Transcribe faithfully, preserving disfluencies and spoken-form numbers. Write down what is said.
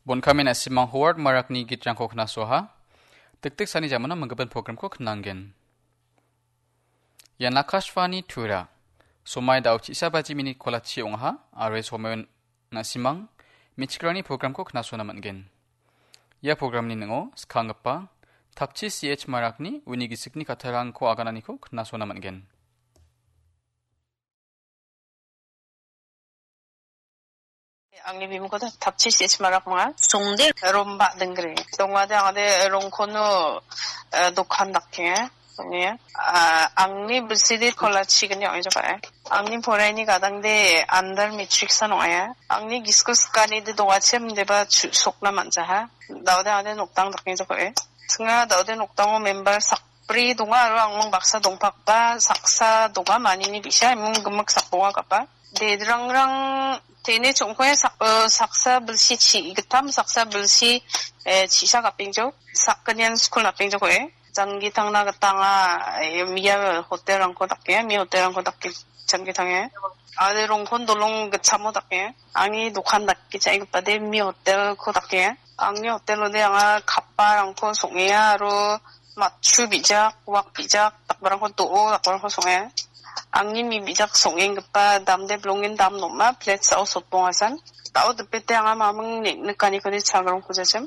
Bonkamen asimang Howard Marakni gitrangko knasoha. Tiktik sani jamana manggipan programko knanggen. Ian Akashvani Tura. Somai dao chisa baji minit kolachi ong·aha, are somai nasimang, michikrani programko knasona man·gen. Ia programni ning·o skanggipa Tapchi C H Marakni uni gisikni kattarangko agananiko knasona man·gen. Angni bimingko Tapchi C H Marak ong·a. Songde. Romba Denggre. Dongade angade rongkono, eh, dokan dake. Ong·a. Ah, angni bisidi kolachi gni ong·e jokae. Angni poraini gadangde under matric san ong·a. Angni gisko sikani de dongachim deba chu-, sokna man·jaha. Daode angade noktang dake jokae. Singa daode noktango member sak bri donga aro angmang baksa dongpakba saksa donga manini bi·sa imung gimik sakbonga gapa. Dedrangrang teni chongkoe sak-, eh, saksa bilsi chi·gittam, saksa bilsi, eh, chi·sa gapengjo, sakgnian skul napengjokoe. Janggi tangna gitanga, eh, mia hotel-rangko dake, mia hotel-rangko dake janggi tange. Ade rongkon dolong gitchamo dake. Angni dokan dake cha·egipade mia hotel-ko dake. Angni hotel-ode anga kapparangko song·enga aro matchu bijak, wak bijak, dakbarangko do·o, dakbarangko song·enga. Angni mi bijak song·enggipa damde bilongen dam nom·a, plate sa·o sotbongasan. Da·o dipete anga maming ne-, nikanikode chagrongko jachim.